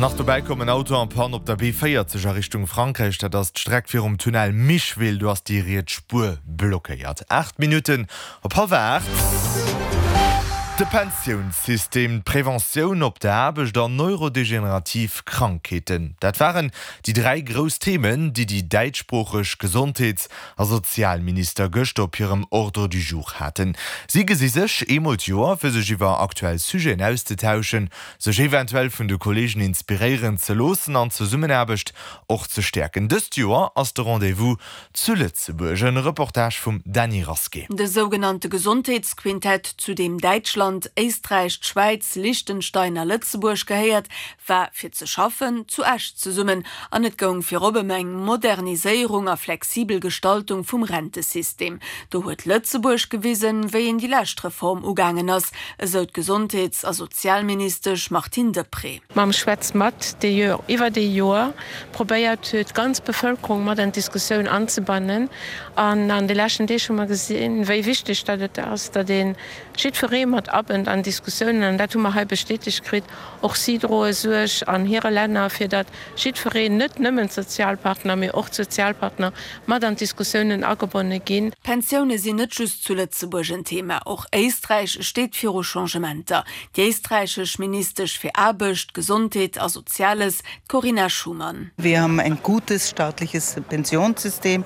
Nach dobäi koum en Auto en panne op der B40 a Richtung Frankräich. Dat ass d'Streck virum Tunnel Micheville. Do ass déi riets Spuer blockéiert. 8 Minutten op hallwer 8. De Pensiounssystem, d'Preventioun op der Aarbecht an neurodegenerativ Krankheeten, dat waren déi 3 grouss Themen, déi déi däitschsproocheg Gesondheets a Sozialminister gëschter op hirem Ordre du jour haten. Si gesi sech eemol d'Joer, fir sech iwwer aktuell Sujeten auszetauschen, sech eventuell vun de Kolleegen inspiréieren ze loossen an d'Zesummenaarbecht och ze stäerken. Dëst Joer ass de Rendez-vous zu Lëtzebuerg. En Reportage vum Dany Rasqué. De sougenannte Gesondheetsquintett, zu deem Däitschland, Éisträich, d'Schwäiz, Liechtenstein a Lëtzebuerg gehéiert, war fir ze schaffen zu Esch zesummen an et goung virop ëm eng Moderniséierung a flexibel Gestaltung vum Rentesystem. Do huet Lëtzebuerg gewisen, wéi een déi lescht Reform ugaangen ass, esou d'Gesondheets a Sozialministesch Martine Deprez. Mam Schwätz mat, dee jo iwwert ee Joer probéiert huet, d'ganz Bevëlkerung mat an d'Diskussioun anzebannen. An an de leschten Deeg hu mer gesinn, wéi wichteg datt et ass, datt ee jiddweree mat abënnt an Diskussiounen. An dat hu mer hei bestätegt kritt. Och si droe Suerg an hire Länner, fir datt jiddwereen, net nëmmen d'Sozialpartner, mee och d'Sozialpartner mat an d'Diskussiounen agebonne ginn. D'Pensioune sinn net just zu Lëtzebuerg en Thema. Och Éisträich steet viru Changementer. Déi éisträichesch Ministesch fir Aarbecht, Gesondheet a Soziales, d'Corinna Schumann. Wir haben ein gutes staatliches Pensionssystem.